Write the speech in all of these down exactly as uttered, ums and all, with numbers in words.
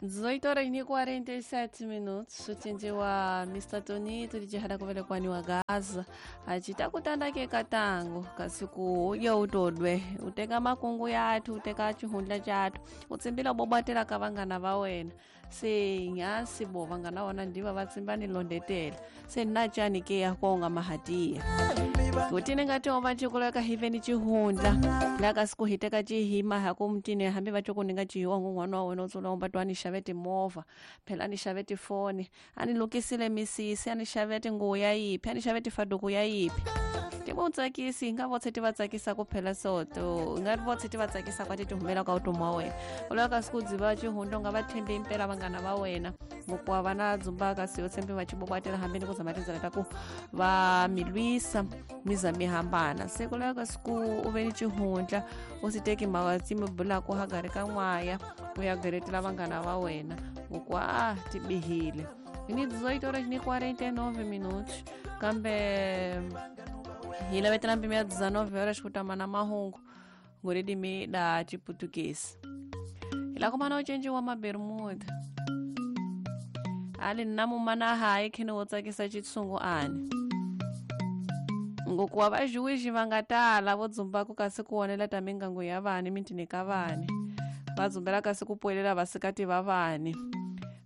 dezoito horas e quarenta e sete minutos ucinjiwa mister Tony tulijihada kuvelekwani wa Gaza acitakutandake katango kasiku uye utodwe uteka makungu yathu uteka cihundla cathu utsimbila bobwatela ka vangana va wena se nyasi bo vangana wona ndiva va tsimba ni londetela se nna cani ke ya konga mahatiya kutine ngati ova cikuleka hiveni cihundla laka siku hiteka cihima haku mtini hambi va cokuninga cihiwa ng'wana wa wena utsula umba to ani xave timovha phela ani xave tifoni ani lukisile misisi ani xave tinguvu ya yiphi ani xave tifaduku ya yiphi ti vo tsakisi hi nga votshe ti va tsakisa ku phela soto hi nga votshe ti va tsakisa kwa ti ti humela ka vutomi wa wena u lava ka siku dziva cihundla u nga va tshembi impela vanghana va wena ngokuwa va na dzumbaka si yo tshembi va cibobwatela hambi ni ku zama tindzela ta ku va mi lwisa mi za mi hambana se ku lava ka siku u ve ni cihundla u si teki mhaka ti mi bulaku hagari ka n'waya u ya geretela vanghana va wena ngokuwa a ti bihile ni dezoito horas ni quarenta e nove minutos kambe hi lavetela mpimo ya dezenove horas ku tama na mahungu ngoridimi da chiputukezi hi la kumana ucenji wa mabermuda ali nna mumana hayi khini wo tsakisa chitsungu ani ngokuwa vajuwixi va nga tala vo dzumbaku kasi ku wonela ta mingangu ya vani mitini ka vani va dzumbela kasi ku puwelela vasikati va vani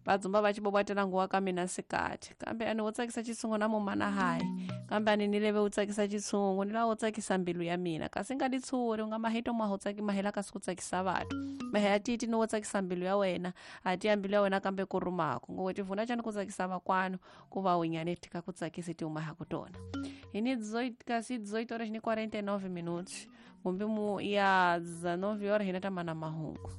va dzumba va cibobwatela nguwa ka mina sikati kambe ani wo tsakisa chitsungu na mumana hayi kambe ani ni leve u tsakisa chitsungu ni lava wo tsakisa mbilu ya mina kasi nga ditshuri u nga mahito maho tsaki mahela kasi ku tsakisa vanhu mahe ya titi ni wo tsakisa mbilu ya wena a ti ya mbilu ya wena kambe ku rumako ngo tivuna cani ku tsakisa vakwanu ku va unyane tika ku tsakisi ti uma ku tona hi ni kasi dezoito horas ni quarenta e nove minutos kumbe mu ya dezenove horas hina ta mana mahungu.